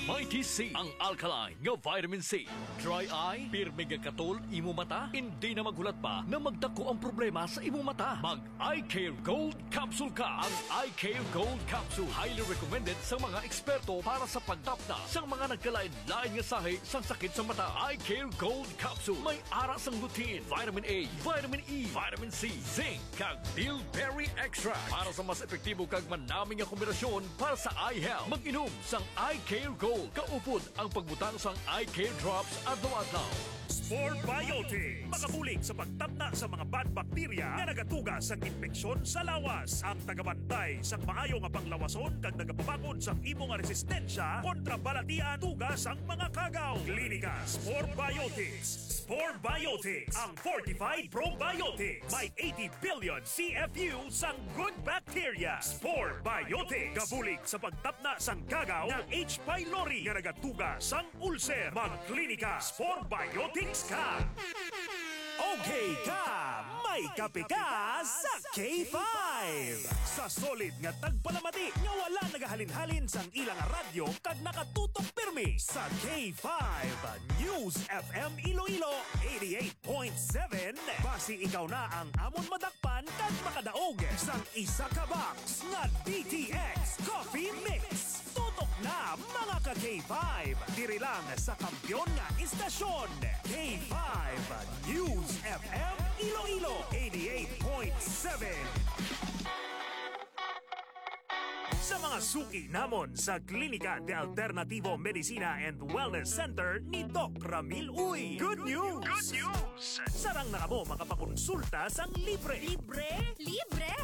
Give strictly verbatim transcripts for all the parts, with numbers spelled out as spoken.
Mighty C, ang alkaline nga vitamin C. Dry eye? Pirmi nga katol imo mata? Indi na maghulat pa na magdako ang problema sa imo mata. Mag Eye Care Gold Capsule ka. Ang Eye Care Gold Capsule highly recommended sa mga eksperto para sa pagtapna sa mga nagkalain-lain nga sahi sang sakit sa mata. Eye Care Gold Capsule may ara sang lutein, vitamin A, vitamin E, vitamin C, zinc, kag bilberry extract para sa mas epektibo kag manami nga kombinasyon para sa eye health. Mag-inom sang Eye Care Gold kaupod ang pagbutang sang Eye Care Drops adlaw-adlaw. Spore Biotics, makabulig sa pagtapna sa mga bad bacteria nga nagatuga sang impeksyon sa lawas. Ang tagabantay sang maayo nga panglawason kag nagapabakod sang imo nga resistensya kontra balatian tuga sang mga kagaw. Klinika Spore Biotics. Spore Biotics, ang fortified probiotics. May eighty billion C F U sang good bacteria. Spore Biotics, kabulig sa pagtapna sang kagaw nga H. pylori nga nagatuga sang ulcer. Magklinika Spore Biotics ka. Okay ka, may kape ka sa K five. Sa solid nga tagpalamati nga wala nagahalin-halin sang ilang radyo kag nakatutok pirmi sa K five News F M Iloilo eighty-eight point seven. Basi ikaw na ang amon madakpan kag makadaog sang isa ka box nga D T X Coffee Mix. Tutok na, mga ka K five. Diri lang sa kampiyon nga istasyon, K five News F M Iloilo eighty-eight point seven. Sa mga suki namon sa Klinika de Alternativo Medicina and Wellness Center ni Doc Ramil Uy. Good news! Good news! Sarang na kamo makapakonsulta sang libre. Libre? Libre!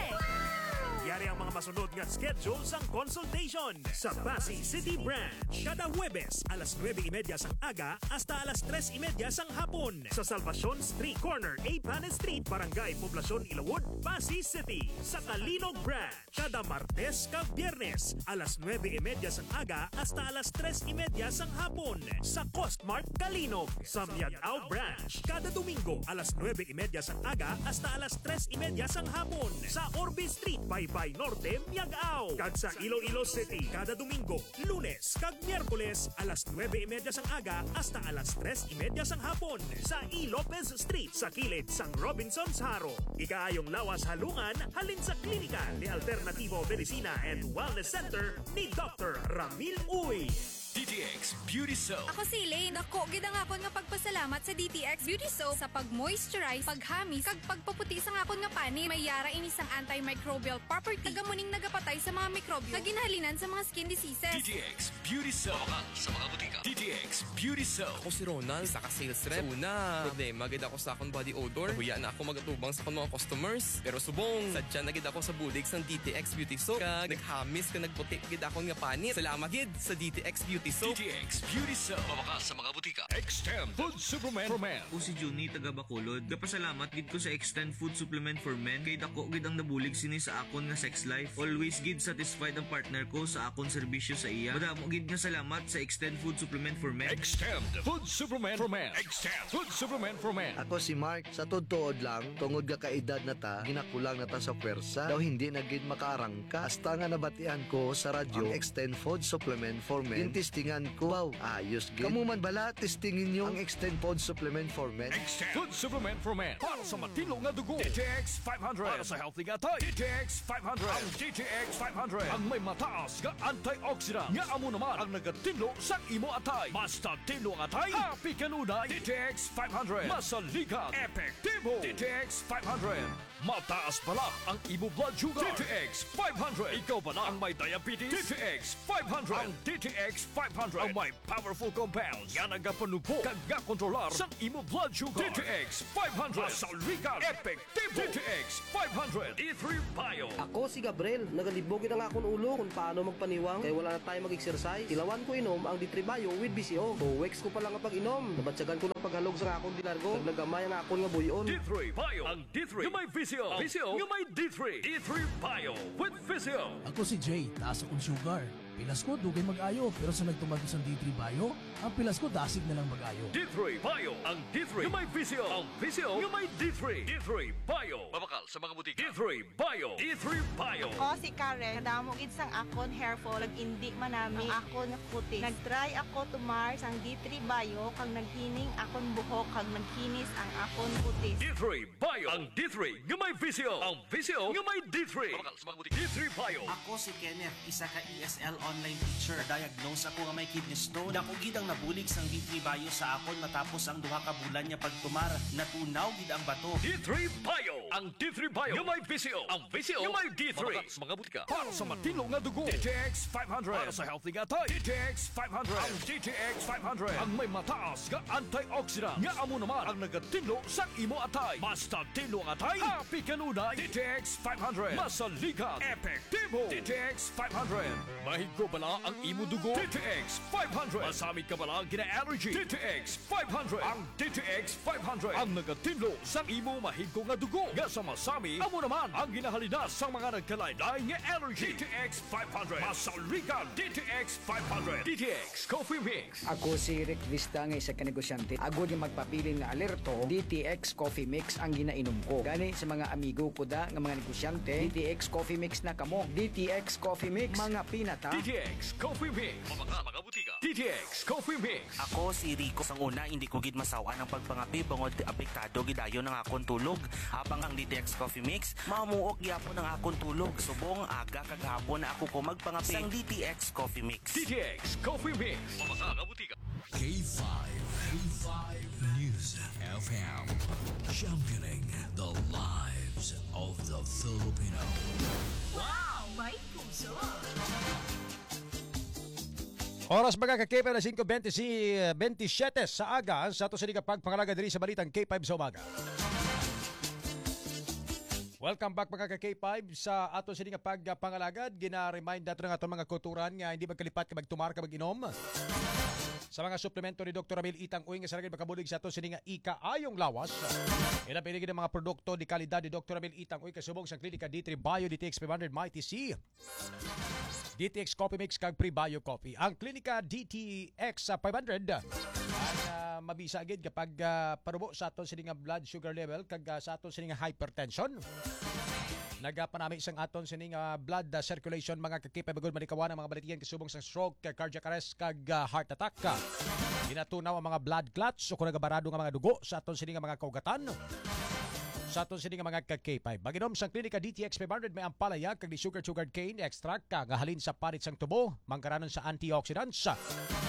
Yari ang mga masunod nga schedule sang consultation. Sa Passi City Branch, kada Huwebes, alas nuebe y media sang aga hasta alas tres y media sang hapon. Sa Salvacion Street, corner A Panes Street, Barangay Poblacion, Ilawod, Passi City. Sa Calinog Branch, kada Martes kag Biyernes, alas nuebe y media sang aga hasta alas tres y media sang hapon, sa Costmart Calinog. Sa Miag-ao Branch, kada Domingo, alas nuebe y media sang aga hasta alas tres y media sang hapon, sa Orbe Street, Baybay Norte, Miag-ao. Kag sa Iloilo City, kada Domingo, Lunes, kag Miyerkules, alas nuebe y media sang aga hasta alas tres y media sang hapon, sa E. Lopez Street, sa kilid sang Robinsons Jaro. Ikaayong lawas halungan halin sa Klinika de Alternativo Medicina and Wellness Center ni Doctor Ramil Uy. D T X Beauty Soap. Ako si Elaine. Dako gid ang akon nga pagpasalamat sa D T X Beauty Soap sa pag-moisturize, paghamis, kag pagpaputi sang akon nga panit. May yara ini sang antimicrobial property, kag amo ning nagapatay sa mga mikrobyo nga ginhalinan sa mga skin diseases. D T X Beauty Soap. Mabakal sa mga butika. D T X Beauty Soap. Ako si Ronald, isa ka sales rep. Sa una, problema gid ako sa akong body odor. Nahuya na ako mag-atubang sa akong mga customers. Pero subong, sadya na gid ako sa bulig sang D T X Beauty Soap. Kag naghamis kag nagputi gid akon nga panit. Salamat gid sa D T X Beauty Soap. D T X Beauty Soap. Mabakal sa mga butika. Extend Food Supplement for Men. Ako si Junie, taga Bacolod. Gapasalamat gid ko sa Extend Food Supplement for Men kay dako gid ang nabulig sini sa akon nga sex life. Always gid satisfied ang partner ko sa akon serbisyo sa iya. Madamo gid nga salamat sa Extend Food Supplement for Men. Extend Food Supplement for Men. Extend Food Supplement for Men. Ako si Mark. Sa tuod-tuod lang, tungod nga kaedad na ta, ginakulang na ta sa pwersa. Daw hindi na gid makaarangka. Hasta nga nabatian ko sa radyo ang Extend Food Supplement for Men. Gintistingan ko. Wow, ayos gid. Kamo man bala, testingi ninyo ang Extend Food Supplement for Men. Extend Food Supplement for Men. Para sa matinlo nga dugo, D T X five hundred. Para sa healthy nga atay, D T X five hundred. Ang D T X five hundred ang may mataas nga antioxidant nga amo naman ang nagatinlo sang imo atay. Basta tinlo ang atay, happy kanunay. D T X five hundred. Masaligan, epektibo. D T X five hundred. Mataas bala ang imo blood sugar. D T X five hundred. Ikaw bala ang may diabetes? D T X five hundred. Ang D T X five hundred ang may powerful compounds nga nagapanubo kag gakontrolar sang imo blood sugar. D T X five hundred. Masaligan, epektibo. D T X five hundred. D three Bio. Ako si Gabriel. Nagalibog gid ang akon ulo kung paano magpaniwang kay wala na tayo mag-exercise. Tilawan ko inom ang D three Bio with V C O. Two weeks ko pa lang nga pag-inom, nabatyagan ko ng paghalog sa akon di largo. Naglagamay ang akon nga buyon. D three Bio. Ang D three nga may V C O. Ang V C O nga may D three. D three Bio with V C O. Ako si Jay, taas akong sugar. Pilas ko, dugay mag-ayo, pero sa nagtumar ko sang D three Bio, ang pilas ko dasig na lang mag-ayo. D three Bio, ang D three nga may visyo, ang visyo nga may D three. D three Bio. Mabakal sa mga butika. D three Bio. D three Bio. Ako si Karen, kadamo gid sang akon hair fall, nag-indi man nami ang akon nga kutis. Nag-try ako tumar sang D three Bio, kag naghining akon buhok, kag nagkinis ang akon kutis. D three Bio, ang D three nga may visyo, ang visyo nga may D three. Mabakal sa mga butika. D three Bio. Ako si Kenneth, isa ka E S L online teacher. Diagnose ako nga may kidney stone. Dako gid ang nabulig sang D three Bio sa akon matapos ang duha ka bulan nga pagtumar. Natunaw gid ang bato. D three Bio. Ang D three Bio nga may visyo, ang visyo nga may D three. Mabakal sa mga butika. Para sa matinlo nga dugo, D T X five hundred. Para sa healthy nga atay, D T X five hundred. Ang D T X five hundred ang may mataas nga antioxidant nga amo naman ang nagatinlo sang imo atay. Basta tinlo ang atay, happy kanunay. D T X five hundred. Masaligan, epektibo. D T X five hundred. Mahigko bala ang imo dugo? D T X five hundred. Masami ka bala gina-allergy? D T X five hundred. Ang D T X five hundred ang nagatinlo sang imo mahigko nga dugo nga sa masami, amo naman ang ginahalina sa mga nagkalain-lain nga allergy. D T X five hundred. Masaligan, D T X five hundred. D T X Coffee Mix. Ako si Rick Vista nga isa ka negosyante. Agod nga magpabilin nga alerto, D T X Coffee Mix ang ginainom ko. Gani sa mga amigo ko da nga mga negosyante, D T X Coffee Mix na kamo. D T X Coffee Mix, mga pinata. D T X Coffee Mix. Mga, mga butika. D T X Coffee Mix. Ako si Rico. Sang una, hindi ko gid masawan ang pagpangape bangod apektado gid dayon ang akon tulog. Habang ang D T X Coffee Mix, mamuok gyapon ang akon tulog. Subong aga kag hapon na ako ko magpangape. Sang D T X Coffee Mix. D T X Coffee Mix. Mga, mga butika. K five. K five News F M. Championing the lives of the Filipino. Wow! May puso! Oras, mga ka-K five, alas singko bente, si, bente siyete sa aga sa ato sini nga pagpangalagad diri sa Balitang K five sa Umaga. Welcome back, mga ka-K five, sa ato sini nga pagpangalagad. Gina-remind nato ang aton mga kautoran nga hindi magkalipat ka magtumar ka mag-inom sa mga suplemento ni Doktor Ramil Itang Uy nga sa lagid makabulig sa ato sini nga ikaayong lawas. Ilapili gid ang mga produkto di kalidad ni Doktor Ramil Itang Uy kasubong sa Klinika D three Bio, D T X five hundred, Mighty C, D T X Coffee Mix kag Prebio Coffee. Ang Klinika D T X five hundred ang, ah, mabisa gid kapag, ah, parubo sa aton sini nga blood sugar level kag, ah, sa aton sini nga hypertension. Nagapanami sang aton sini nga blood, ah, circulation, mga ka-K five, agud malikawan ang mga balatian kasubong sa stroke, cardiac arrest kag, ah, heart attack. Ginatunaw ang mga blood clots o kung nagabarado nga mga dugo sa aton sini nga mga kaugatan. Sa aton sini nga mga ka-K five. Mag-inom sang Klinika D T X five hundred may ampalaya kag ni sugar sugarcane extract ka nga halin sa parit sang tubo, manggaranon sa antioxidants.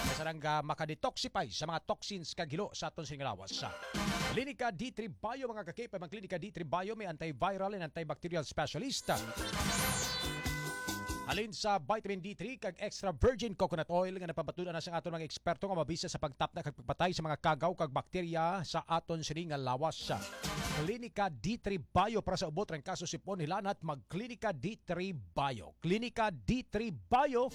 Kasarang, ah, makadetoxify sa mga toxins kag hilo sa aton sini nga lawas. Klinika D three Bio, mga ka-K five, ang Klinika D three Bio may antiviral and antibacterial specialist. Halin sa vitamin D three kag extra virgin coconut oil nga napamatud-an na sang aton mga eksperto nga mabisa sa pagtapna kag pagpatay sa mga kagaw kag bakterya sa aton sini nga lawas. Klinika D three Bio para sa ubot, trangkaso, sipon, hilanat, mag Klinika D three Bio. Klinika D three Bio.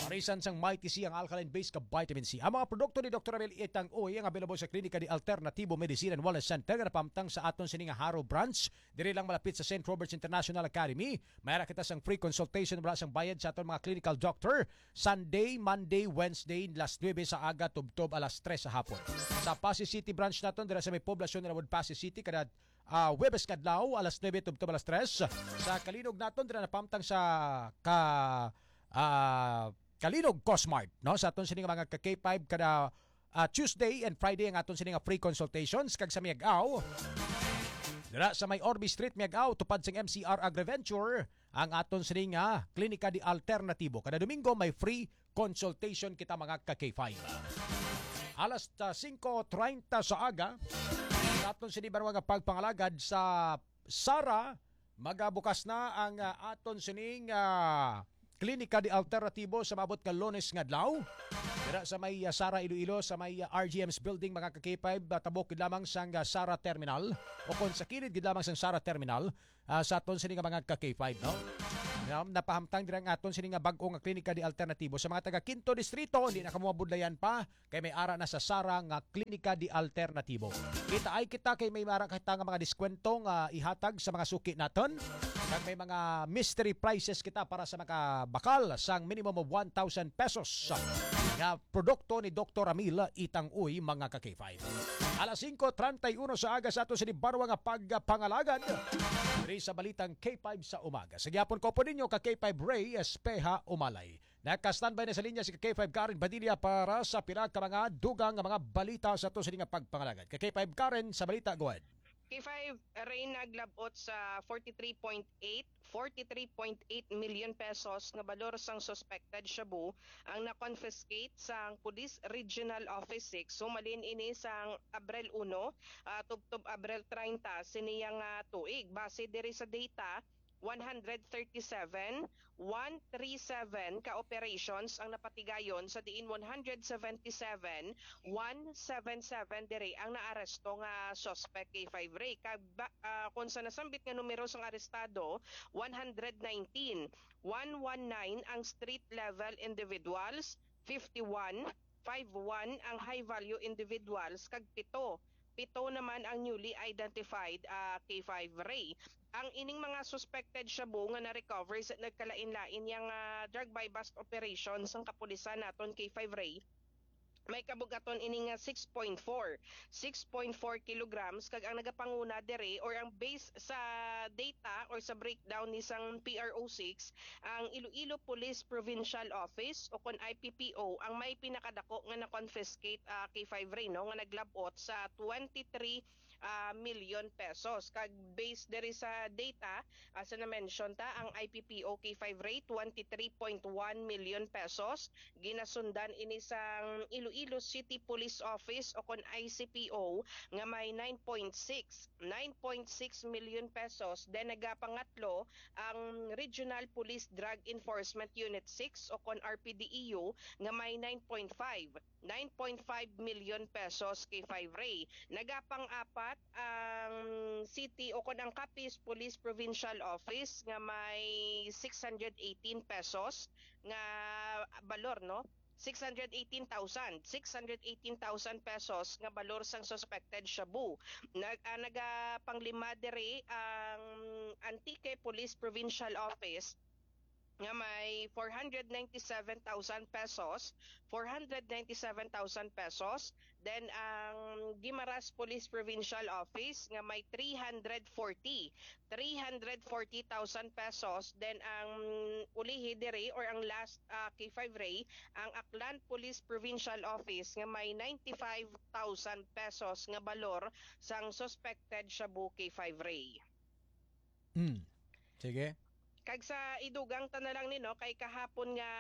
Parisan sang Mighty C ang alkaline base ka vitamin C. Ang mga produkto ni Doktor Abel Itang Uy ang available sa Klinika di Alternatibo Medicine and Wellness Center nga napamtang sa aton sini nga Jaro Branch. Diri lang malapit sa Saint Robert's International Academy. May ara kita sang free consultation wala sang bayad sa aton mga clinical doctor. Sunday, Monday, Wednesday, alas nuebe sa aga tubtob alas tres sa hapon. Sa Passi City Branch naton, dira sa may Poblacion Road, Passi City, kada, ah, Huwebes kadlaw, alas nuebe tubtob alas tres. Sa Calinog naton, dira napamtang sa ka, ah, Calinog Cosmart, no? Sa aton sini nga mga ka K five, kada, ah, Tuesday and Friday ang aton sini nga free consultations, kag sa Miag-ao, dira sa may Orby Street, Miag-ao, tupad sang M C R Agriventure, ang aton sini nga Klinika di Alternatibo. Kada Domingo may free consultation kita, mga ka K five. Alas, ah, singko treinta sa aga, sa aton sini banwa nga pagpangalagad sa Sara, magabukas na ang, ah, aton sining, ah, Klinika di Alternatibo sa maabot nga Lunes nga adlaw. Dira sa may, ah, Sara Iloilo, sa may, ah, R G M's building, mga ka K five, ah, tabok gid lamang sang, ah, Sara Terminal, o kon sa kilid gid lamang sang Sara Terminal, ah, sa aton sini nga mga ka K five, no? Now, napahamtang dira ang aton sini nga bag-o nga Klinika di Alternatibo. Sa mga taga Quinto Distrito, hindi na kamo mabudlayan pa. Kay may ara na sa Sara nga Klinika di Alternatibo. Kita ay kita kay may ara kita nga mga diskwento nga ihatag sa mga suki naton. Kag may mga mystery prizes kita para sa makabakal sang minimum of one thousand pesos nga produkto ni Doktor Amil Itang Uy, mga ka-K five. Alas singko treinta y uno sa aga sa ato sini barwa nga pagpangalagad diri sa Balitang K five sa Umaga. Sa gihapon ko po ninyo ka-K five Ray Espeha Umalay. Naka-standby na sa linya si ka-K five Karen Padilla para sa pila ka mga dugang nga mga balita sa ato sini nga pagpangalagad. Ka-K five Karen, sa balita, go ahead. K five Ray, naglabot sa forty-three point eight, forty-three point eight million pesos nga balor sang suspected shabu ang na-confiscate sang Police Regional Office six humalin ini sang Abril uno, ah, tubtob Abril treinta sini nga tuig. Base diri sa data, one hundred thirty-seven, one three seven ka operations ang napatigayon, sa diin one hundred seventy-seven, one seven seven diri ang naaresto nga suspect, K five Ray. Kag ba, ah, kung sa nasambit nga numero sang arestado, one hundred nineteen, one one nine ang street level individuals, fifty-one, five one ang high value individuals, kag pito, pito naman ang newly identified, ah, K five Ray. Ang ining mga suspected shabu nga na-recover sa nagkalain-lain yang, ah, drug buy-bust operation sang kapulisan naton, K five Ray, may kabugaton ini nga six point four, six point four kilograms, kag ang nagapanguna diri, or ang base sa data or sa breakdown ni sang P R O six, ang Iloilo Police Provincial Office o kon I P P O ang may pinakadako nga na-confiscate, ah, K five Ray, no, nga naglabot sa twenty-three, ah, million pesos. Kag based diri sa data, ah, sa na-mention ta, ang I P P O K five Ray, twenty-three point one million pesos. Ginasundan ini sang Iloilo City Police Office o kon I C P O nga may nine point six, nine point six million pesos. Then nagapangatlo ang Regional Police Drug Enforcement Unit six o kon R P D E U nga may nine point five, nine point five million pesos, K five Ray. Nagapang-apat ang city o kon ang Capiz Police Provincial Office nga may six hundred eighteen pesos nga balor, no? Six hundred eighteen thousand, six hundred eighteen thousand pesos nga balor sang suspected shabu. Nag-, ah, nagapanglima diri ang Antique Police Provincial Office nga may four hundred ninety-seven thousand pesos, four hundred ninety-seven thousand pesos. Then, ang Guimaras Police Provincial Office nga may three hundred forty, three hundred forty thousand pesos. Then, ang ulihi diri or ang last, ah, K five Ray, ang Aklan Police Provincial Office nga may ninety-five thousand pesos nga balor sang suspected shabu, K five Ray. Mm. Sige. Kag sa idugang ta na lang ni, no, kay kahapon nga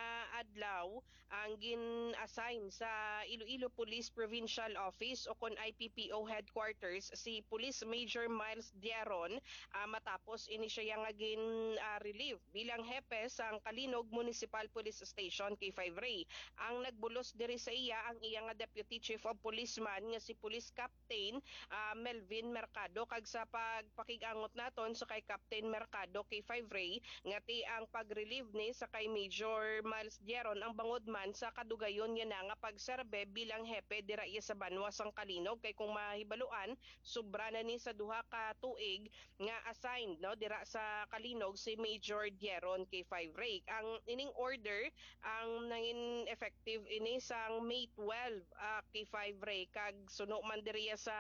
adlaw ang gin-assign sa Iloilo Police Provincial Office o kon I P P O headquarters si Police Major Miles Diaron, ah, matapos ini siya nga gin, ah, relieve bilang hepe sang Calinog Municipal Police Station, K five Ray. Ang nagbulos diri sa iya ang iya nga Deputy Chief of Police man nga si Police Cap Captain, ah, Melvin Mercado. Kag sa pagpakig-angot naton sa kay Captain Mercado, K five Ray, nga ti ang pag-relieve ni sa kay Major Miles Dieron ang bangod man sa kadugayon niya na nga pagserbe bilang hepe dira iya sa banwa sang Calinog. Kay kung mahibaluan, sobra na ni sa duha ka tuig nga assigned, no, dira sa Calinog si Major Dieron, K five Ray. Ang ining order ang nangin effective ini sang May twelve, ah, K five Ray, kag suno man diriya sa,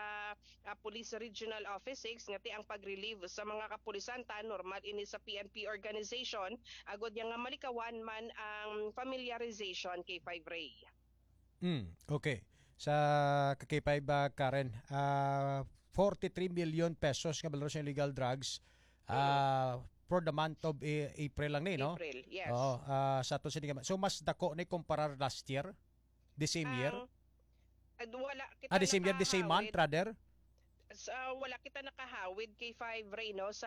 ah, Police Regional Office six nga ti ang pag-relieve sa mga kapulisan ta, normal ini sa P N P organization, agod niya nga malikawan man ang familiarization, K five Ray. Mm, okay. Sa ka K five, ah, Karen, ah, forty-three million pesos nga balor sa illegal drugs, ah, for the month of A-, April lang ni, no? April, yes. Oo, ah, sa ato sini nga, so mas dako ni kumparar last year? The same year? Ang, ah, wala kita Ah, the same year, the same month, nakahawid. rather? Sa, wala kita nakahawid, K five Ray, no, sa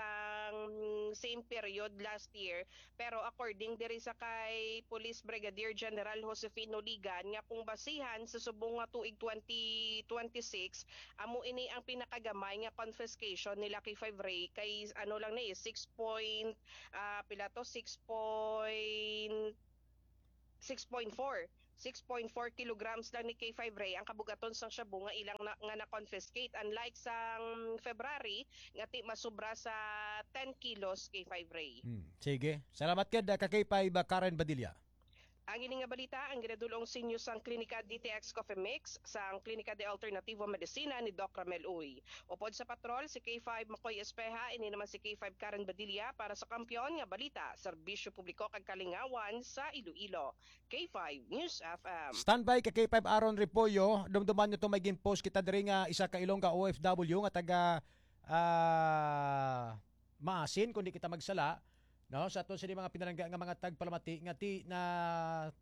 same period last year. Pero according diri sa kay Police Brigadier General Josefino Ligan, nga kung basihan sa subong nga tuig twenty twenty-six, amo ini ang pinakagamay nga confiscation nila, K five Ray, kay ano lang ni, six point, ah, pila to, six point six point four, six point four kilograms lang ni K five Ray ang kabugaton sang shabu nga ilang na, nga na-confiscate, unlike sang February nga ti masubra sa ten kilos, K five Ray. Hmm. Sige. Salamat gid, ah, ka K five, ah, Karen Badilla. Ang ini nga balita ang ginadul-ong sa inyo sang Klinika D T X Coffee Mix, sang Klinika de Alternativo Medicina ni Doc Ramel Uy. Upod sa patrol, si K five Makoy Espeha, ini naman si K five Karen Badilla para sa Kampiyon nga Balita, Serbisyo Publiko kag Kalingawan sa Iloilo. K five News F M. Standby ka K five Aaron Repollo, dumduman nyo to, may gin-post kita diri nga isa ka Ilongga O F W nga taga, ah, Maasin, kung di kita magsala, no, sa aton sini mga pinalangga nga mga tagpalamati nga ti na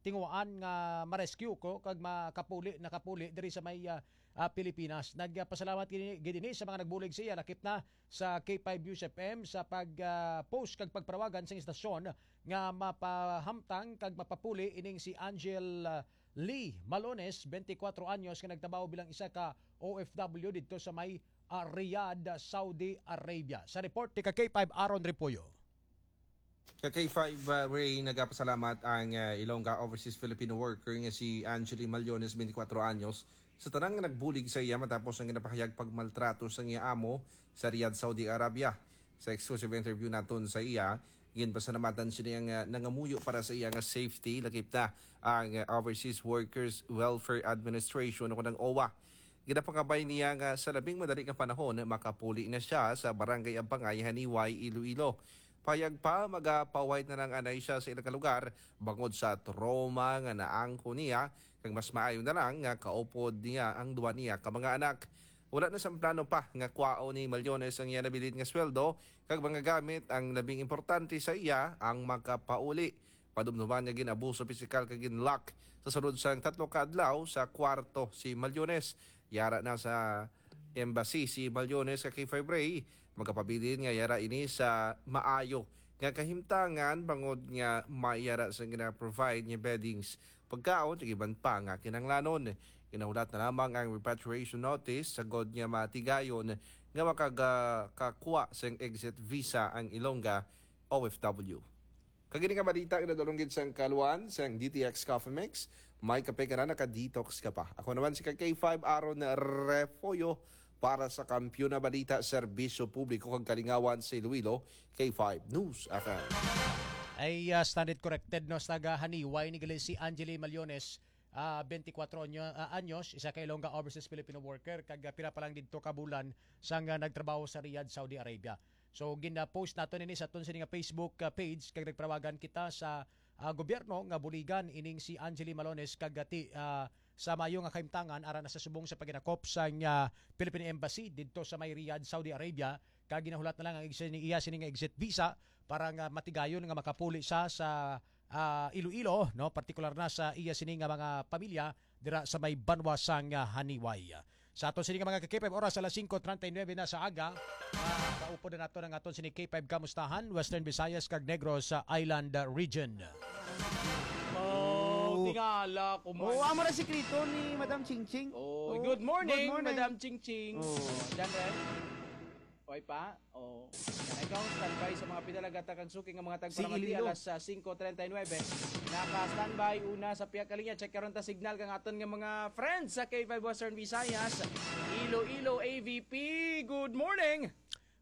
tinguhaan nga ma-rescue ko kag makapuli, nakapuli diri sa may, ah, ah, Pilipinas. Nagpasalamat gid ini, gid ini sa mga nagbulig sa iya, lakip na sa K five News F M sa pag, ah, post kag pagpanawagan sa istasyon nga mapahamtang kag mapapuli ining si Angel, ah, Lee Malones, twenty-four anyos, nga nagtrabaho bilang isa ka O F W didto sa may, ah, Riyadh, Saudi Arabia. Sa report ni ka K five Aaron Repollo. Ka K five, uh, Ray, nagapasalamat ang, uh, Ilongga Overseas Filipino worker nga si Angeli Maliones, twenty-four anyos, sa tanan nga nagbulig sa iya matapos ang ginapahayag pagmaltrato sa iya amo sa Riyadh, Saudi Arabia. Sa exclusive interview naton sa iya, ginpasalamatan sini ang, uh, nangamuyo para sa iya nga safety, lakip na ang, uh, Overseas Workers Welfare Administration o ang OWWA. Ginapangabay niya nga sa labing madali nga panahon, makapuli na siya sa Barangay Abangay, Haniway, Iloilo. Payag pa, magapaway na lang anay siya sa ilang lugar bangod sa trauma nga naangko niya, kag mas maayo na lang nga kaupod niya ang duha niya ka mga anak. Wala na sang plano pa nga kwaon ni Maliones ang iya nabilin nga sweldo kag mga gamit. Ang labing importante sa iya ang makapauli. Padumduman nga gin-abuso pisikal kag gin-lock sa sulod sang tatlo ka adlaw sa kwarto si Maliones. Yara na sa embassy si Maliones ka K five Ray. Magapabilin nga yara ini sa maayo nga kahimtangan bangod nga may yara sa gina-provide nga beddings, pagkaon, ug iban pa nga kinahanglanon. Ginahulat na lamang ang repatriation notice sagod nga matigayon nga makagakakwa sang exit visa ang Ilongga O F W. Kag ini nga balita nga nadulong gid sang kaluan sang D T X Coffee Mix, may kape ka na, naka-detox ka pa. Ako naman si ka K five Aaron Refollo para sa Kampiyon na Balita, Serbisyo Publiko kag Kalingawan sa Iloilo, K five News F M. Ay, ah, standard corrected, no, sa taga Haniway ni gali si Angeli Maliones, ah, twenty-four anyo-, ah, anyos, isa ka Ilongga Overseas Filipino worker, kag, ah, pila pa lang didto ka bulan sang, ah, nagtrabaho sa Riyadh, Saudi Arabia. So, gina-post nato nini sa aton sini nga Facebook, ah, page, kag nagpanawagan kita sa, ah, gobyerno nga buligan ining si Angeli Malones kag, ah, ti, ah, sa maayo nga kahimtangan aran na sa subong sa paghinakop sang, ah, Philippine Embassy didto sa may Riyadh, Saudi Arabia, kag ginahulat na lang ang exit ni iya sini nga exit visa para nga matigayon nga makapuli sa, sa, ah, Iloilo, no, partikular na sa iya sini nga mga pamilya dira sa may banwa sang, ah, Haniway. Sa aton sini nga mga ka-K five, oras alas singko treinta y nueve na sa aga. Ah, kaupod na nato ang aton sini K five Kamustahan, Western Visayas kag Negros, ah, Island, ah, Region. Oh, tingala ko man. Oh, amo ra sikreto ni Madam Chingching. Oh, Oh, good morning, good morning. Madam Chingching. Oh. Oh, dyan, Ren. Oy pa? Oh. Ikaw, standby sa mga pinalagata kag suki nga mga Si tagparamati Ililo. Alas, ah, singko treinta y nueve. Naka-standby una sa pihak ka linya. Check karon ta signal kang aton nga mga friends sa K five Western Visayas, Iloilo, A V P. Good morning.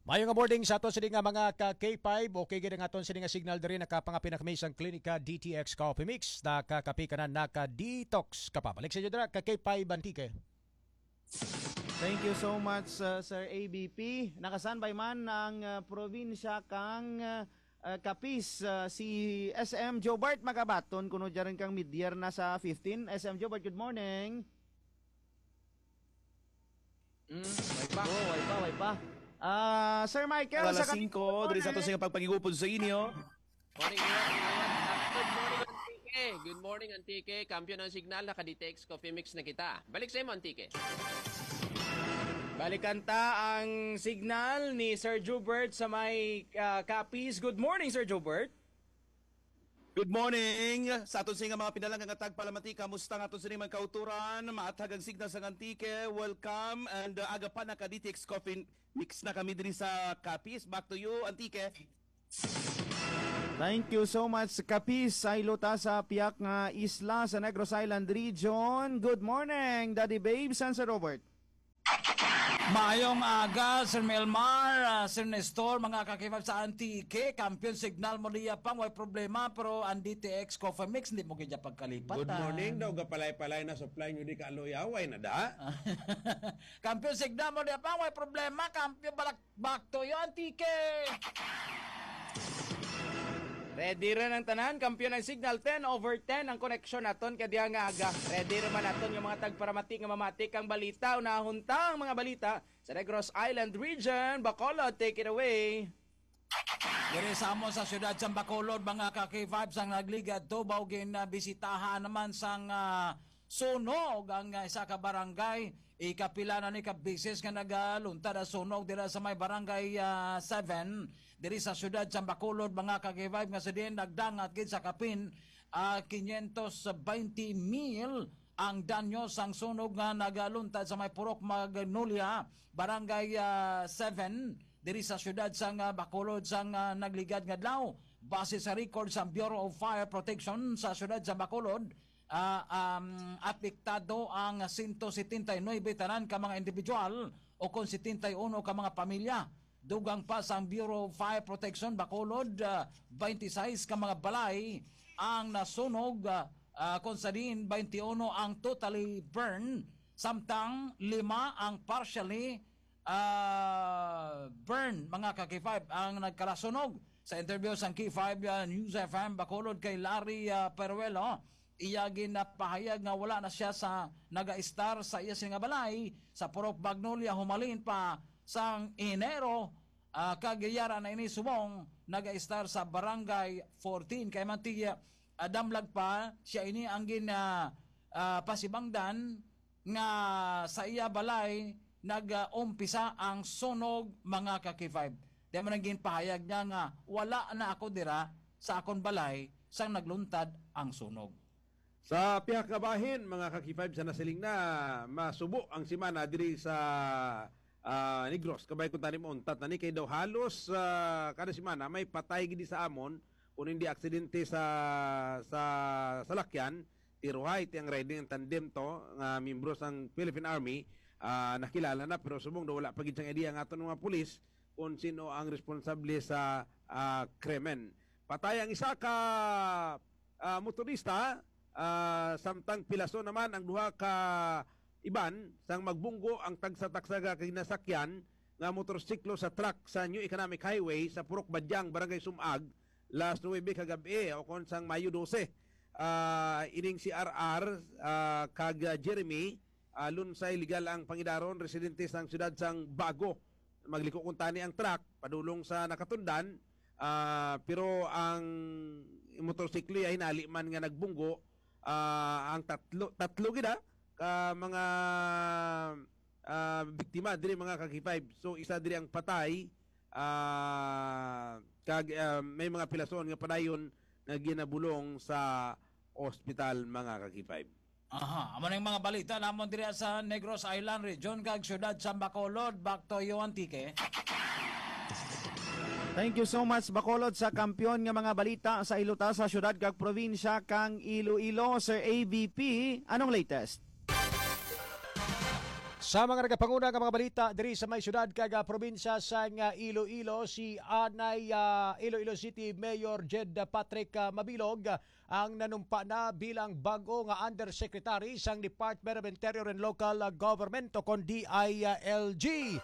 Mayo nga morning sa aton sini nga mga ka K five. Okay gid ang aton sini nga signal diri, nakapangapin na kami sang Klinika D T X Coffee Mix. Nakakapi ka na, naka-detox ka pa. Balik sa inyo dira ka K five Antique. Thank you so much, uh, Sir A B P. Naka-standby man ang, uh, probinsya kang, uh, uh, Capiz, uh, si S M Jobart Magabaton, kuno dyan kang midyear na sa fifteen. S M Jobart, good morning. Mm, way pa. Oh, way pa, way pa. Ah, Sir Michael, Alas sa Kat-, singko, diri sa ato sa pagpangigupod sa inyo. Morning, morning, morning. Good morning, Antique. Good morning, Antique. Kampiyon ang signal, naka-D T X Coffee Mix na kita. Balik sa imo, Antique. Balikan ta ang signal ni Sir Jubert sa may, ah, Capiz. Good morning, Sir Jubert. Good morning. Sa aton sini nga mga pinalangga nga tagpalamati, kamusta nga aton sini mga kauturan? Maathag ang signal sa Antique. Welcome. And, uh, aga pa, naka-D T X Coffee Mix na kami diri sa Capiz. Back to you, Antique. Thank you so much, Capiz. Saylo ta sa piyak nga isla sa Negros Island Region. Good morning, Daddy Babes and Sir Robert. Maayong aga, Sir Melmar, ah, Sir Nestor, mga ka-K five sa Antique. Kampiyon signal mo diya pang, way problema, pero ang D T X Coffee Mix, hindi mo kaya pagkalipat. Good morning daw, gapalay-palay na supply nyo di ka aloy, away na da. Kampiyon signal mo diya pang, way problema, kampiyon balak Back to you, Antique! Ready ra ang tanan, kampiyon ang signal, ten over ten ang koneksyon naton kay diya nga aga. Ready ra man naton nga mga tagparamati nga mamati kang balita. Unahon ta ang mga balita sa Negros Island Region. Bacolod, take it away. Diri sa amo sa siyudad sa Bacolod, mga ka-K five, sang nagligad tubaw, ginabisitahan naman sang, ah, sunog ang, ah, isa ka barangay. Ikapila na ni ka beses nga nagaluntad ang sunog dira sa may barangay, ah, seven, diri sa siyudad sa Bacolod, mga ka-K five, nga sa diin nagdangat gid sa kapin, ah, quinientos veinte mil ang danyo sang sunog nga nagaluntad sa may Purok Magnolia, barangay, ah, seven, diri sa siyudad sang, ah, Bacolod sang, ah, nagligad nga adlaw. Base sa record sa Bureau of Fire Protection sa siyudad sa Bacolod, ah, um, apektado ang sento setenta y nuebe tanan ka mga individual o kon setenta y uno ka mga pamilya. Dugang pa sang Bureau of Fire Protection, Bacolod, ah, twenty-six ka mga balay ang nasunog, ah, ah, kung sa diin twenty-one ang totally burn, samtang lima ang partially, ah, burn, mga ka-K five, ang nagkalasunog. Sa interview sang K five, ah, News F M Bacolod kay Larry, ah, Peruelo, iya ginapahayag nga wala na siya sa naga-estar sa iya sini nga balay sa Purok Magnolia humalin pa sang Enero, ah, kag yara na ini subong naga-estar sa Barangay fourteen. Kay man ti, ah, damlag pa siya ini ang gin, ah, ah, pasibangdan nga sa iya balay nag-umpisa ang sunog, mga ka-K five. Di man ang ginpahayag niya nga, "Wala na ako dira sa akon balay sang nagluntad ang sunog." Sa pihak nga bahin, mga ka-K five, sa nasiling na, masubo ang semana diri sa, ah, Negros. Kabay kung tanim untat na ni, kay daw halos, ah, kada semana may patay gid sa amon, kung hindi aksidente sa, sa salakyan, tiruhay, ti ang riding ang tandem to, nga miyembro sang Philippine Army, ah, nakilala na, pero subong daw wala pa gid sang idea ang aton mga pulis kung sino ang responsable sa, ah, krimen. Patay ang isa ka, ah, motorista, ah, samtang pilaso naman ang duha ka iban sang magbunggo ang tagsa-tagsa ka ginasakyan nga motorsiklo sa truck sa New Economic Highway sa Purok Badyang, Barangay Sumag, last nuebe kagab-i, o kon sang Mayo dose. Ah, ining si R R, ah, kag, ah, Jeremy, ah, Lunsay, legal ang pangidaron, residente sang siyudad sang Bago. Magliko kuntani ang truck padulong sa Nakatundan, ah, pero ang motorsiklo ya hinali man nga nagbunggo, ah, ang tatlo, tatlo gid, ah, ka mga, ah, biktima diri, mga ka-K five. So, isa diri ang patay, ah, kag, ah, may mga pilason nga padayon nga ginabulong sa ospital, mga ka-K five. Aha, amo na yung mga balita namon diri sa Negros Island Region kag siyudad sa Bacolod. Back to you, Antique. Thank you so much, Bacolod, sa kampiyon nga mga balita sa iluta sa siyudad kag probinsya kang Iloilo. Sir A B P, anong latest? Sa mga nagapanguna nga mga balita diri sa may siyudad kag, ah, probinsya sang, ah, Iloilo, si anay, ah, Iloilo City Mayor Jed Patrick, ah, Mabilog, ah, ang nanumpa na bilang bag-o nga Undersecretary sang Department of Interior and Local, ah, Government o kon D I L G.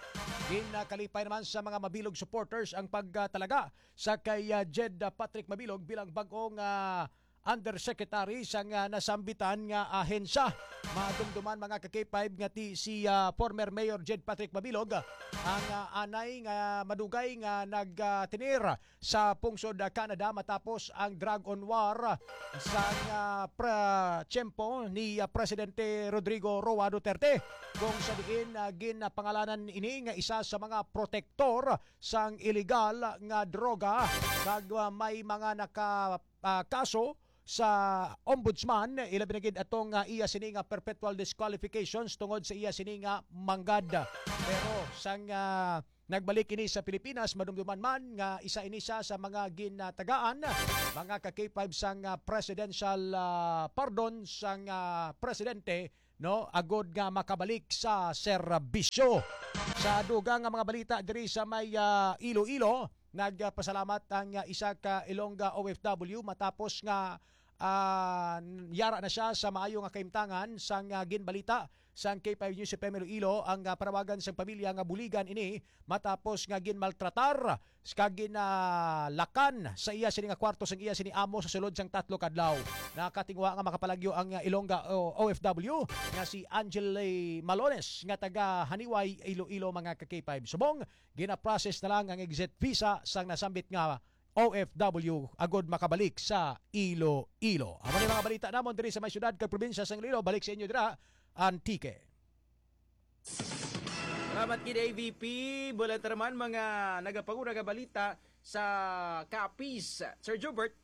Ginakalipay naman sa mga Mabilog supporters ang pagtalaga sa kay, ah, Jed, ah, Patrick Mabilog bilang bag-o nga Undersecretary sang, ah, nasambitan nga ahensya. Madumduman, mga ka-K five, nga ti si, ah, former Mayor Jed Patrick Mabilog, ah, ang, ah, anay nga madugay nga nag, ah, tenir sa pungsod, ah, Canada matapos ang drug on war sang, ah, pra-, tiyempo ni, ah, Presidente Rodrigo Roa Duterte, kung sa diin, ah, ginapangalanan ini nga isa sa mga protektor sang iligal nga droga, kag, ah, may mga naka, ah, kaso sa ombudsman, ilabi na gid atong, ah, iya sini nga perpetual disqualifications tungod sa iya sini nga manggad. Pero sang, ah, Nagbalik ini sa Pilipinas, madumduman man nga isa ini siya sa mga ginatagaan, mga ka K five, sang, ah, presidential, ah, pardon sang, ah, presidente, no, agod nga makabalik sa serbisyo. Sa dugang nga mga balita diri sa may, ah, Iloilo, nagpasalamat ang, ah, isa ka Ilongga O F W matapos nga, ah, yara na siya sa maayo nga kahimtangan. Sang, ah, ginbalita sang K five News F M Iloilo, ang, ah, panawagan sang pamilya nga buligan ini matapos nga ginmaltratar kag ginalakan sa iya sini nga kwarto sang iya sini amo sa sulod sang tatlo ka adlaw. Nakatingwa nga makapalagyo ang, ah, Ilongga O F W nga si Angel Malones nga taga Haniway, Iloilo, mga ka K five. Subong, gina-process na lang ang exit visa sang nasambit nga O F W agod makabalik sa Iloilo. Amo ni mga balita namon diri sa may syudad kag probinsya sang Iloilo. Balik sa inyo dira, Antique. Salamat gid, A V P. Bulan ta naman mga nagapanguna nga balita sa Capiz. Sir Jubert.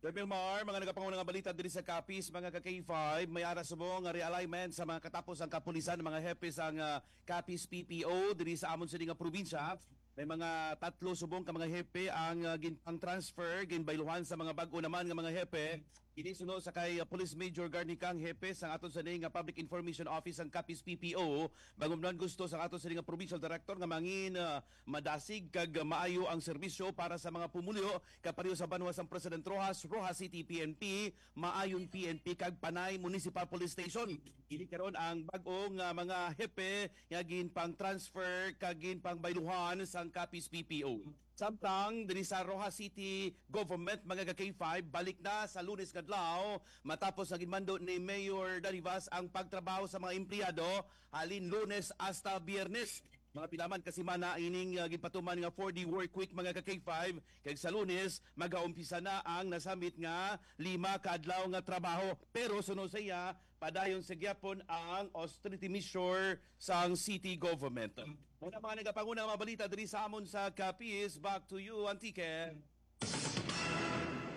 Sir Milmar, mga nagapanguna nga balita diri sa Capiz, mga ka K five, may ara subong nga realignment sa mga katapos ang kapulisan, mga hepe sang, ah, Capiz P P O diri sa amon sini nga probinsya. May mga tatlo subong ka mga hepe ang, ah, ginpang-transfer, ginbayluhan sa mga bag-o naman nga mga hepe. Kini suno sa kay, ah, Police Major Garnicang, hepe sang aton sini nga Public Information Office sang Capiz P P O. Bangod man gusto sang aton sini nga provincial director nga mangin, ah, madasig kag maayo ang serbisyo para sa mga pumuluyo, kapareho sa banwa sang President Roxas, Roxas City P N P, Maayon P N P kag Panay Municipal Police Station. Kini karon ang bag-o nga mga hepe nga ginpang-transfer kag ginpangbayluhan sang Capiz P P O. Samtang diri sa Roxas City Government, mga ka K five, balik na sa Lunes nga adlaw matapos nga ginmando ni Mayor Darivas ang pagtrabaho sa mga empleyado halin Lunes hasta Biyernes. Mga pila man ka semana ining, ah, ginpatuman nga four-day work week, mga ka K five, kag sa Lunes magaumpisa na ang nasambit nga lima ka adlaw nga trabaho. Pero suno sa iya, padayon sa gyapon ang austerity measure sang city government. Muna mga nagapanguna nga mga balita diri sa amon sa Capiz. Back to you, Antique.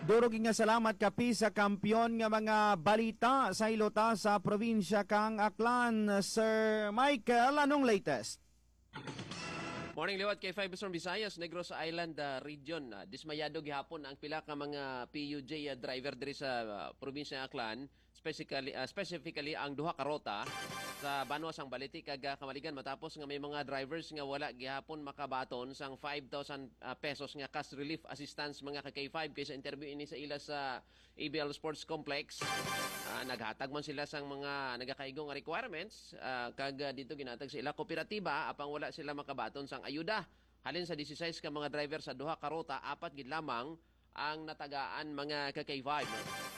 Duro gid nga salamat, Capiz, sa kampiyon nga mga balita sa hilota sa probinsya kang Aklan. Sir Michael, anong latest? Morning, liwat K five Western Visayas, Negros Island, ah, region. Ah, dismayado gihapon ang pila ka mga P U J, ah, driver diri sa, ah, probinsya ng Aklan, specifically, ah, specifically ang duha ka rota sa banwa sang Balite kag, ah, Camaligan, matapos nga may mga drivers nga wala gihapon makabaton sang five thousand, ah, pesos nga cash relief assistance, mga ka K five, kay sa interview ini sa ila sa A B L Sports Complex. Ah, naghatag man sila sang mga nagakaigo nga requirements, ah, kag, ah, dito ginhatag sa ila kooperatiba, apang wala sila makabaton sang ayuda. Halin sa disisais ka mga driver sa duha ka ruta, apat gid lamang ang natagaan, mga ka K five.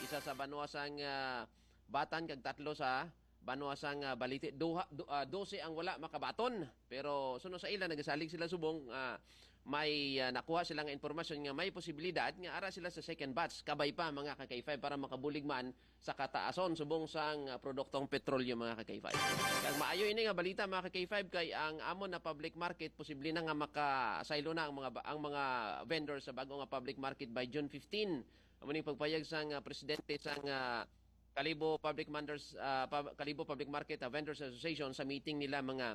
Isa sa banwa sang, ah, Batan kag tatlo sa banwa sang, ah, Balite. Duha, du-, ah, dose ang wala makabaton. Pero suno sa ila, nagasalig sila subong, ah, may, ah, nakuha sila nga impormasyon nga may posibilidad nga ara sila sa second batch, kabay pa, mga ka K five, para makabulig man sa kataason subong sang, ah, produktong petrolyo, mga ka K five. Kag maayo ini nga balita, mga ka K five, kay ang amon na public market posible na nga makasaylo na ang mga ba-, ang mga vendors sa bag-o nga public market by June fifteen. Amo ning pagpayag sang, ah, presidente sang, ah, Kalibo Public Manders, ah, Pub-, Kalibo Public Market, ah, Vendors Association sa meeting nila, mga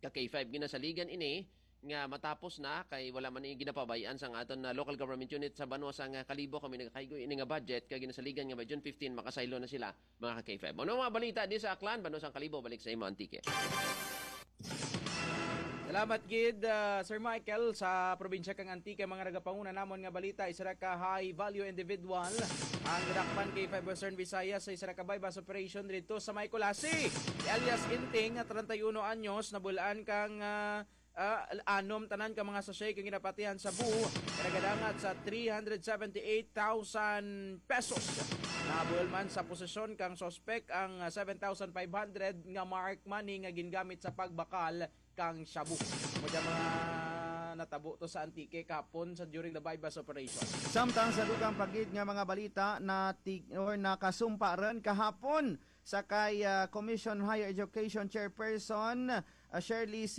ka K five. Ginasaligan ini nga matapos na, kay wala man ini ginapabay-an sang aton na local government unit sa banwa sang Kalibo. Kami nagakaigo ini nga budget, kay ginasaligan nga by June fifteen makasaylo na sila, mga ka K five. Ano mga balita di sa Aklan, banwa sang Kalibo? Balik sa imo, Antique. Salamat gid, ah, Sir Michael. Sa probinsya kang Antique, mga nagapanguna namon nga balita, isa ra ka high value individual ang nadakpan kay Five Western Visayas sa isa ra ka buy-bust operation dito sa may Culasi. Si alias Inting, nga treinta y uno anyos, nabulaan kang, ah, ah, anom tanan ka mga sachet kang ginapatihan sa buo, nagadangat sa three hundred seventy-eight thousand pesos. Nabuhol man sa posisyon kang suspek ang, ah, seven thousand five hundred nga marked money nga gingamit sa pagbakal kang shabu. Amo dyan mga natabo to sa Antique kahapon sa, during the buy-bust operation. Samtang sa dugang pa gid nga mga balita, na tig-, or nakasumpa rin kahapon sa kay, ah, Commission Higher Education Chairperson, ah, Shirley C.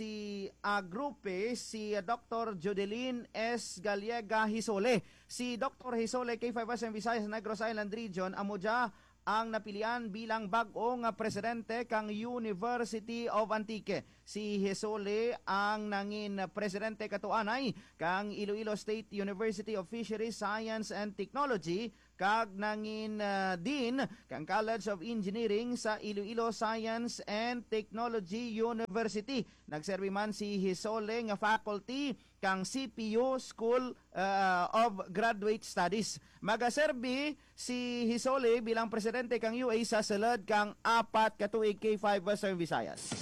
Agrupe, si, ah, Doctor Judeline S. Gallega Hisole. Si Doctor Hisole, K five S M Visayas, Negros Island Region, amo dya ang napilian bilang bag-o nga presidente kang University of Antique. Si Hisole ang nangin presidente katuanay kang Iloilo State University of Fisheries Science and Technology kag nangin, ah, dean kang College of Engineering sa Iloilo Science and Technology University. Nagserbi man si Hisole nga faculty kang C P U School, ah, of Graduate Studies. Magaserbi si Hisole bilang presidente kang U A sa sulod kang apat ka tuig, K five Western Visayas.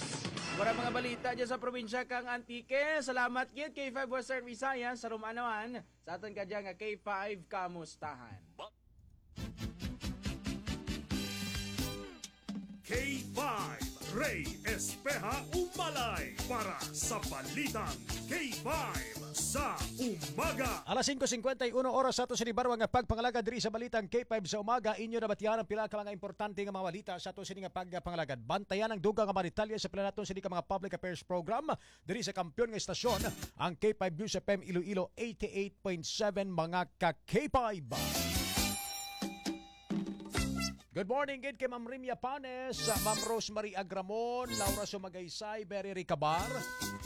Wala mga balita dyan sa probinsya kang Antique. Salamat gid, K five Western Visayas. Sa Roma naman, sa aton ka dyan nga K five Kamustahan. K five, Ray Espeha Umalay para sa Balitang K five sa Umaga. Alas singko singkwenta y uno oras sa ato sini barwa nga pagpangalagad diri sa Balitang K five sa Umaga. Inyo nabatian ang pila ka mga importante nga mga balita sa ato sini nga pagpangalagad. Bantayan ang dugang nga mga detalye sa pila naton sini ka mga public affairs program diri sa kampiyon nga estasyon, ang K five News F M Iloilo, eighty-eight point seven, mga ka K five. Good morning gid kay Ma'am Rimia Panes, Ma'am Rosemary Agramon, Laura Sumagaysay, Berry Ricabar.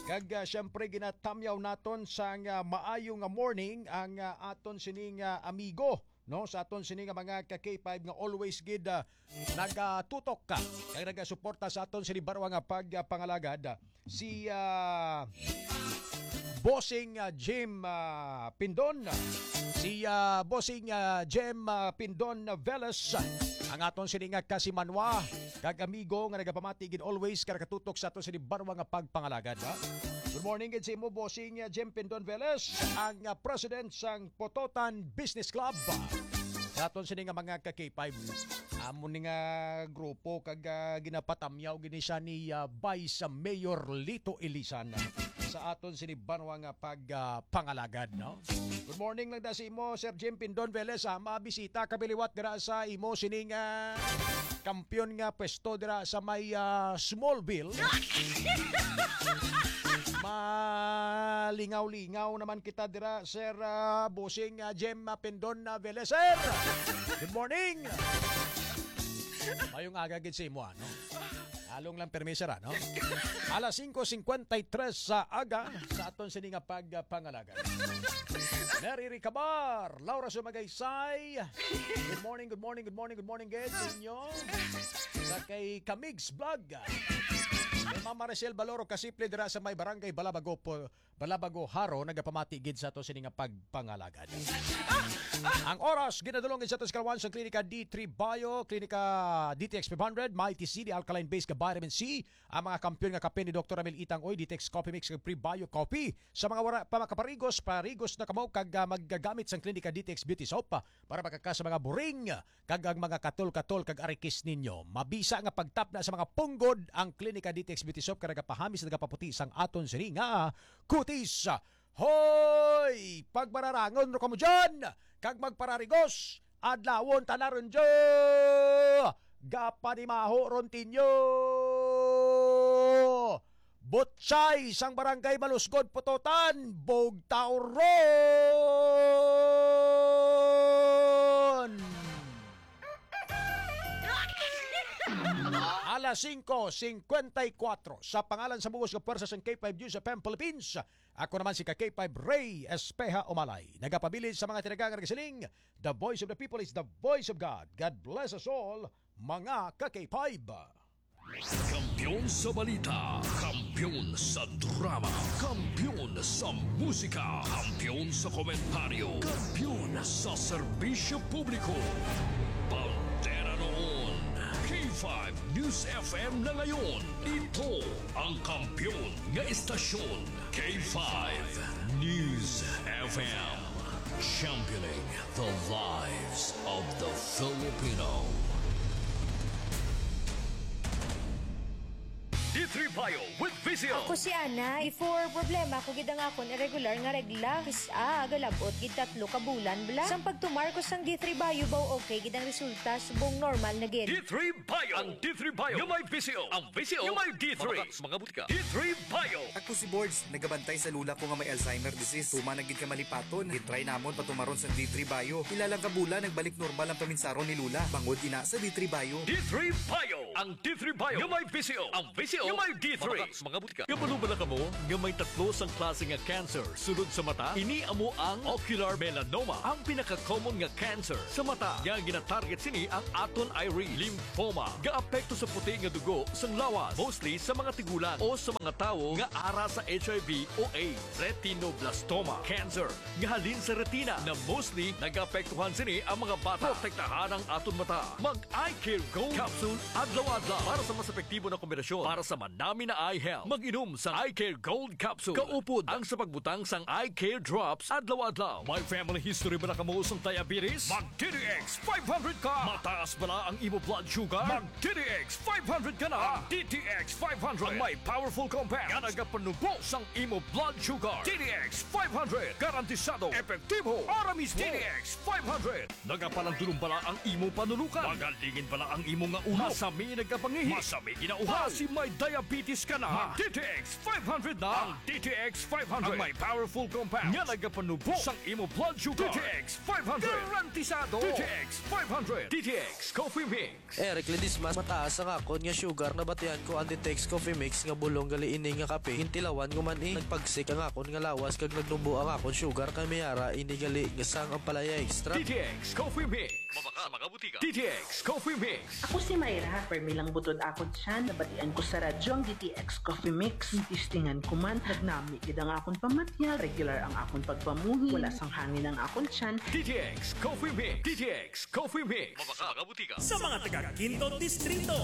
Kag, ah, siyempre, ginatamyaw naton sang, ah, maayo nga morning ang, ah, aton sining, ah, amigo, no, sa aton sini nga mga ka K five nga always gid, ah, nagatutok ka kag nagasuporta sa aton sini barwa nga pagpangalagad, ah, si, ah, Bossing, ah, Jim, ah, Pindon, si, ah, Bossing, ah, Jim, ah, Pindon Veles, ang aton sini nga kasimanwa kag amigo nga nagapamati gid always ka nakatutok sa aton sini barwa nga pagpangalagad, ha? Good morning gid sa imo, Bossing, ah, Jim Pindon Veles, ang, ah, president sang Pototan Business Club. Sa aton sini nga mga ka K five, amo ni nga grupo kag, ah, ginapatamyaw gini siya ni, ah, Vice Mayor Lito Ilisan sa aton sini banwa nga pag, ah, pangalagad, no? Good morning lang da sa imo, Sir Jim Pindon Veles, ah, mabisita kami liwat dira sa imo sining, ah, kampiyon nga pwesto dira sa may, ah, Smallville. Malingaw-lingaw naman kita dira, Sir, ah, Bossing, ah, Jem, ah, Pindon, ah, Veles, sir. Good morning. Mayong aga gid sa imo, ano? Along lang permi, sir, ano? Alas singko singkwenta y tres sa aga sa aton sini nga pagpangalagad. Mary Ricabar, Laura Sumagaysay. Good morning, good morning, good morning, good morning, gid sa inyo. Sa kay Kamigs Vlog. Kay Ma'am Maricel Baloro Kasiple dira sa may barangay Balabago po, Balabago, Jaro, nagapamati gid sa ato sini nga pagpangalagad. Ang oras, ginadulong gid sa ato sa kalawan sa Klinika D three Bio, Klinika D T X five hundred, Mighty C, the alkaline base nga vitamin C, ang mga kampiyon nga kape ni Doktor Ramil Itang Oy, D T X Coffee Mix, kag Prebio Coffee. Sa mga wala pa makaparigos, parigos na kamo kag, ah, maggamit sang Klinika D T X Beauty Soap, ah, para makaka sa mga buring, kag ang mga katol-katol kag arikis ninyo. Mabisa nga pagtapna sa mga punggod ang Klinika D T X Beauty Soap kag nagapahamis, nagapaputi sang aton sini nga kutis. Hoy! Pagmararangon ro kamo dyan, kag magpararigos, adlawon ta na ron dyo! Gapanimaho ron tinyo! Butchay sang Barangay Malusgod, Pototan, bugtaw ron! Alas singko singkwenta y kuwatro, sa pangalan sa bug-os nga pwersa sang K five News F M Philippines, ako naman si ka K five Ray Espeha Umalay. Nagapabilin sa mga tinaga nga nagasiling, "The voice of the people is the voice of God." God bless us all, mga ka K five. Kampiyon sa balita, kampiyon sa drama, kampiyon sa musika, kampiyon sa komentaryo, kampiyon sa serbisyo publiko. Bandera noon, K five News F M na ngayon. Ito ang kampiyon nga istasyon, K five News F M. Championing the lives of the Filipino. Di Three Bio with Visio. Ako si Ana. Before, problema ko gid ang akon irregular nga regla. Kis-a, galabot gid tatlo ka bulan bala. Sang pagtumar ko sang D three Bio, baw okay gid ang resulta, subong normal na gid. D three Bio. Ang D three Bio nga may Visio. Ang Visio nga may D three. Mabaka sa mga butika. D three Bio. Ako si Bords, nagabantay sa lula ko nga may Alzheimer disease. Tuman na gid ka malipaton. Gitry namon patumaron sa D three Bio. Pila lang ka bulan, nagbalik normal ang paminsaron ni Lula. Bangod ina sa D three Bio. D three Bio. Ang D three Bio nga may Visio. Ang Visio nga may D three. Mabaka sa mga butika. Kabalo bala kamo nga may tatlo sang klase nga cancer sulod sa mata? Ini amo ang ocular melanoma, ang pinaka-common nga cancer sa mata nga ginatarget sini ang aton iris. Lymphoma, gaapekto sa puti nga dugo sang lawas, mostly sa mga tigulang o sa mga tawo nga ara sa H I V o AIDS. Retinoblastoma cancer, nga halin sa retina, na mostly nagaapektuhan sini ang mga bata. Protektahan ang aton mata. Mag Eye Care Gold Capsule adlaw-adlaw para sa mas epektibo na kombinasyon para sa manami na eye health. Mag-inom sa Eye Care Gold Capsule kaupod ang sa pagbutang sang Eye Care Drops adlaw-adlaw. May family history ba na kamo sang diabetes? Mag D T X five hundred ka. Mataas ba na ang imo blood sugar? Mag D T X five hundred ka na. Ang D T X five hundred ang may powerful compound nga nagapanubo sang imo blood sugar. D T X five hundred, garantisado, epektibo, para mismo. D T X five hundred. Nagapalandulong bala ang imo panulukan? Magalingin bala ang imo nga ulo? Masami nagkapangihi? Masami ginauhaw? Para si may diabetes ka na? Mag D T X five hundred na. Ang D T X five hundred ang may powerful compound nga nagapanubo sang imo blood sugar. D T X five hundred. Garantisado. D T X five hundred. D T X Coffee Mix. Eric Ledesma, mataas ang akon nga sugar, nabatian ko ang D T X Coffee Mix nga bulong gali ini nga kape. Gintilawan ko man, eh. Nagpagsik ang akon nga lawas kag nagnubo ang akon sugar, kay may ara ini gali nga sang ampalaya extract. D T X Coffee Mix. Mabaka sa mga butika. D T X Coffee Mix. Ako si Myra, permi lang butod akon tiyan. Nabatian ko sa radyo ang D T X Coffee Mix. Testingan ko man, nagnami gid ang akon pamatyag. Regular ang akon pagpamuhi. Wala sang hangin ang akon tiyan. D T X Coffee Mix. D T X Coffee Mix. Mabaka sa mga butika. Sa mga taga Quinto Distrito,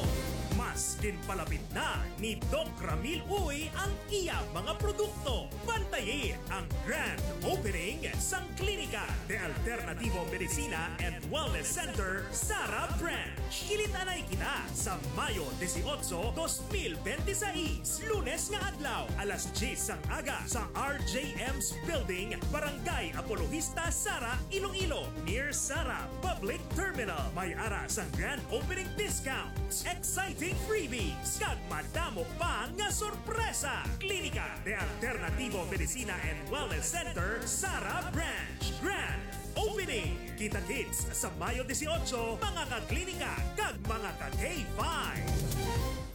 mas ginpalapit na ni Doc Ramil Uy ang iya mga produkto. Bantayi ang grand opening sang Klinika de Alternativo Medicina and Wellness Center, Sara Branch. Kilit-anay kita sa Mayo dieciocho, dos mil veintiséis, Lunes nga adlaw, alas diyes sang aga sa R J M's Building, Barangay Apologista, Sara, Iloilo, near Sara Public Terminal. May ara sang grand opening discounts, exciting freebies, kag madamo pa nga sorpresa. Klinika de Alternativo Medicina and Wellness Center, Sara Branch. Grand Opening! Kita-kits sa Mayo dieciocho, mga ka-klinika kag mga ka-K five.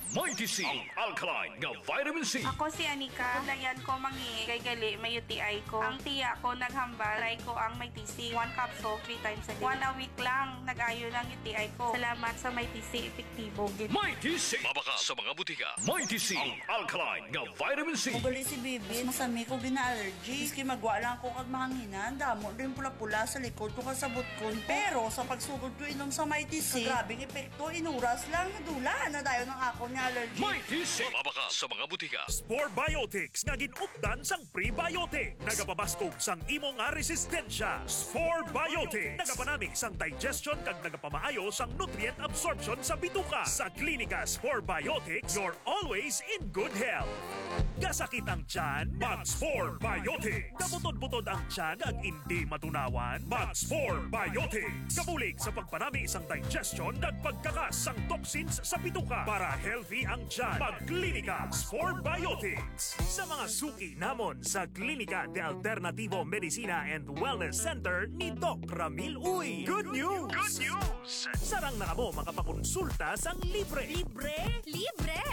Mighty C, ang alkaline nga vitamin C. Ako si Anika. Kabudlayan ko mangihi kay gali may U T I ko. Ang tiya ko naghambal, try ko ang Mighty C. One capsule, three times a day. One a week lang, nag-ayo lang U T I ko. Salamat sa Mighty C, epektibo gid. Mighty C. Mabaka sa mga butika. Mighty C, ang alkaline nga vitamin C. Ugali si Bibi, masami ko gina-allergy. Maski magwa lang ako kag mahanginan, damo din pula-pula sa likod ko kag sa butkon ko. Pero sa pagsugod ko inom sa Mighty C, grabe ang epekto, inuras lang, nadula na dayon ang akon nga allergy. Mighty C. Mabaka sa mga butika. Spore Biotics nga gin-updan sang prebiotic. Nagapabaskog sang imo nga resistensya. Spore Biotics. Nagapanami sang digestion kag nagapamaayo sang nutrient absorption sa bituka. Sa Klinika Spore Biotics, you're always in good health. Kasakit ang tiyan? Mag Spore Biotics. Kabutod-butod ang tiyan kag indi matunawan? Mag Spore Biotics. Kabulig sa pagpanami sang digestion kag pagkakas sang toxins sa bituka. Para healthy ang tiyan, mag Klinika Spore Biotics. Sa mga suki namon sa Klinika de Alternativo Medicina and Wellness Center ni Doc Ramil Uy. Good news! Good news! Sarang na kamo makapakonsulta sang libre. Libre? Libre!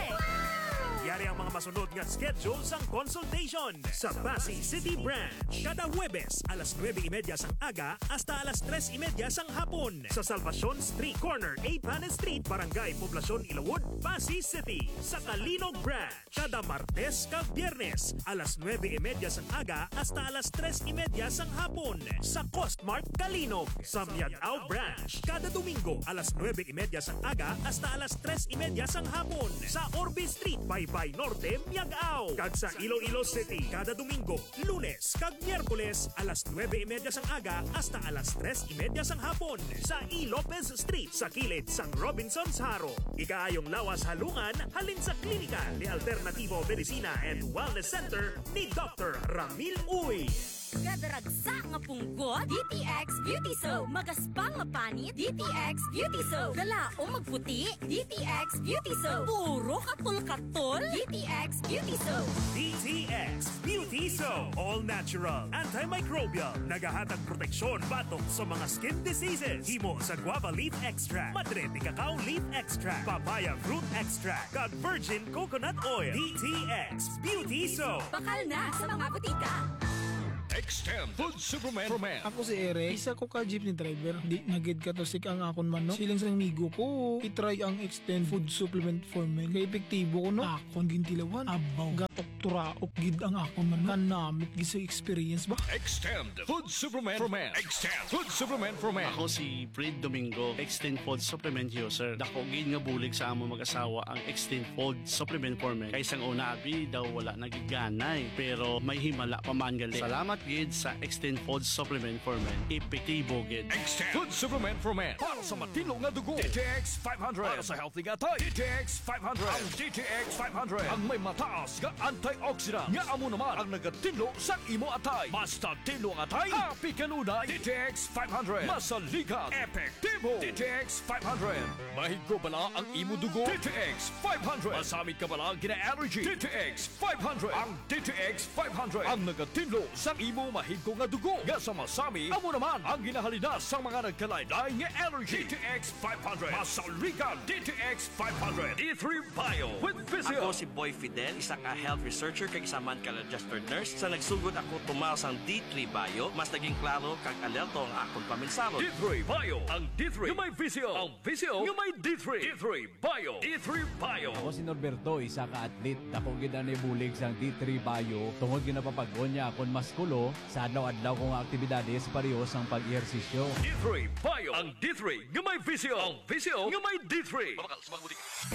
Yari ang mga masunod nga schedule sang consultation. Sa Passi City Branch, kada Huwebes, alas nuebe y media sang aga hasta alas tres y media sang hapon. Sa Salvacion Street, corner eight Panes Street, Barangay Poblacion, Ilawod, Passi City. Sa Calinog Branch, kada Martes kag Biyernes, alas nuebe y media sang aga hasta alas tres y media sang hapon, sa Costmart Calinog. Sa Miag-ao Branch, kada Domingo, alas nuebe y media sang aga hasta alas tres y media sang hapon. Sa Orbe Street, five Pay Norte, Miag-ao, kag sa Iloilo City kada Domingo, Lunes, kag Miyerkules alas nuebe y media sang aga hasta alas tres y media sang hapon sa E. Lopez Street sa kilid sang Robinsons Jaro. Ikaayong lawas halungan halin sa klinika ni Alternativo Medicina and Wellness Center ni Doctor Ramil Uy. Gadaragsa nga punggot, D T X Beauty Soap. Magaspang nga panit, D T X Beauty Soap. Galaom magputi, D T X Beauty Soap. Puro katol-katol, D T X Beauty Soap. D T X Beauty Soap. All natural, antimicrobial. Nagahatag proteksyon batok sa mga skin diseases. Himo sa guava leaf extract, madre de cacao leaf extract, papaya fruit extract, kag virgin coconut oil. D T X Beauty Soap. Bakal na sa mga butika. Extend Food Supplement for Men. Ako si Eric, isa ko ka jeepney driver. Di na gid katusik ang akon manok. Siling sang amigo ko, i-try ang Extend Food Supplement for Men. Kay epektibo ko, no? Akon gintilawan. Abaw, gatok turaok gid ang akon manok. Kanamit gid sa experience ba? Extend Food Supplement for Men. Extend Food Supplement for Men. Ako si Fred Domingo, Extend Food Supplement User. Dako gid nga bulig sa amo mag-asawa ang Extend Food Supplement for Men. Kay sang una, abi daw wala na gid ganay. Pero may himala pa man gali. Salamat gid sa Extend Food Supplement for Men. Epektibo gid. Extend Food Supplement for Men. Para sa matinlo nga dugo, D T X five hundred. Para sa healthy nga atay, D T X five hundred. Ang D T X five hundred ang may mataas nga antioxidant nga amo naman ang nagatinlo sa imo atay. Basta tinlo ang atay, happy kanunay. D T X five hundred. Masaligan, epektibo. D T X five hundred. Mahigko bala ang imo dugo? D T X five hundred. Masamit ka bala gina-allergy? D T X five hundred. Ang D T X five hundred ang nagatinlo sa imo mahigko nga dugo nga sa masami amo naman ang ginahalinas sang mga nagkalain-lain nga allergy. D T X five hundred. Masaligan, D T X five hundred. D three Bio with Physio. Ako si Boy Fidel, isa ka health researcher kag isa man ka registered nurse. Sa nagsugod ako tumaw sang D three Bio, mas naging klaro kag alerto ang akon paminsaro. D three Bio, ang D three nga may Physio, ang Physio nga may D three. D three Bio. D three Bio. Ako si Norberto, isa ka athlete. Dako gid ang nabulig sang D three Bio tungod ginapapag-on niya akon maskulo sa adlaw-adlaw ko nga aktibidades pareho sang pag-ehersisyo. D three Bio. Ang D three nga may Physio. Ang Physio nga may D three.